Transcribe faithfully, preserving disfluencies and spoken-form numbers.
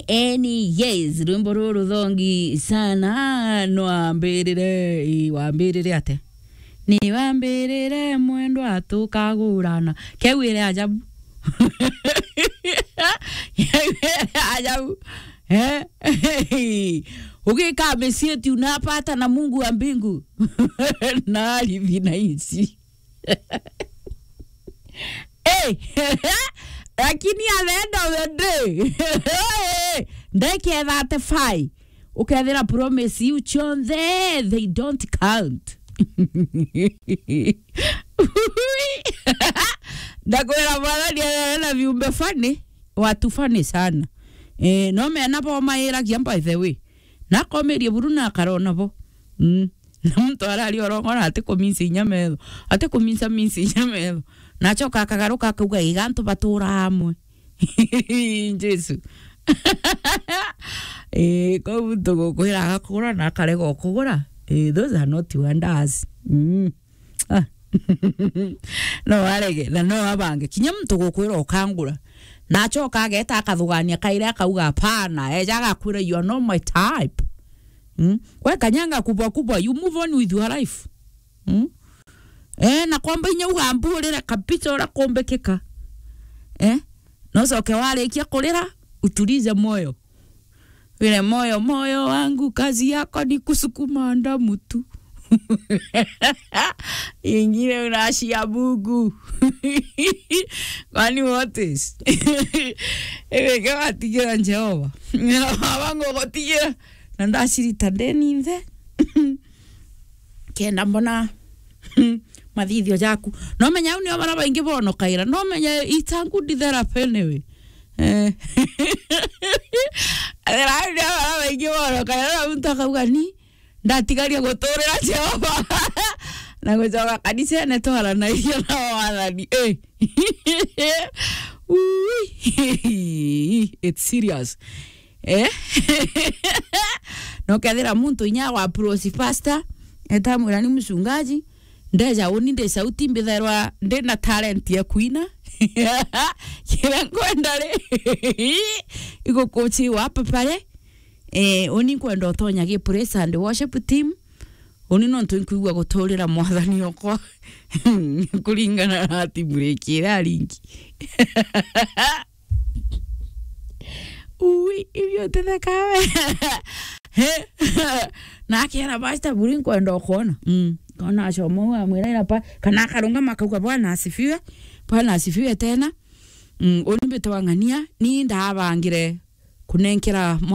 Any yes, rwimbo ruru ruthongi sana. No ambirire, ii, wambirire ate? Ni wambirire mwendwa tukagurana. Keu ire ajabu. Keu ire ajabu. Eh? Ugika misieti unapata na Mungu wa mbingu. Na ardhi na nchi. Eh, lakini at the end of the day, ndeke thirty-five, ukethira promise iu cionthe, they don't count. Ndakwira Mwathani arere na viumbe funny, watu funny sana. Eh, no mena bo mairagia, by the way. Na akomerie buru na akarona bo. Mm. Na muntu arari orongora ati kuminsa inya metho. Ati kuminsa minsa inya metho. Na acoka akagaruka akauga, "Iga antu batura amwe." Jesu. Eh, kou muntu gukwira agakugura na akarega ukugura. Eh, those are not wonders. Mm. Ah. No arege, na no abange. Kinya muntu gukwira ukangura. Na acoka ageta akathugania kaire akauga, "Hapana," eja agakwira, "You are not my type." Mm? We kanyanga kubwa kubwa, you move on with your life. Mm? Eh, na kwamba inya ugamburire kabisa uria kumbikika. Eh? Na ucoke warikia kurira, utulize moyo. Vile moyo, moyo wangu, kazi yako ni kusukuma damu tu. Ingine unashia Mungu. Kwani what is? Iwe ke watigira Jehova. Wangu gutigira. Na ndacirita ndeni nthe. Kenda mbona mathithio jaku. No menya au nio bara baingi bonokaira. No menya it's a good therapy anyway. Eh. Ethira au nio bara baingi bonokaira, na muntu akauga, "Ni ndatigaria guturira Jehova." Na gucoka kanisene twaranagia na wathani. Eh. Ui. It's serious. Eh? Na ukethira muntu inya wa approach pastor, eta mwira, "Ni mchungaji, ndeja uni ndi sauti, mbithairwa ndi na talent ya kuina." Kira nkwenda ri, igukuchiwa hapa pale. Eh, uni nkwenda utonya gi praise and worship team. Uni nontu nkwigua guturira Mwathani okwa. Kuringana na timu riki iria ringi. Ui, ibio tetheka we. He. Na akera pastor buri nkwenda ukwona. Mm. Kona acoma u amwira ira pa, kana akarungama akauga, "Bwana asifiwe. Bwana asifiwe tena." Mm, uni mbitwa ng'ania, ni ndabangire kunenkera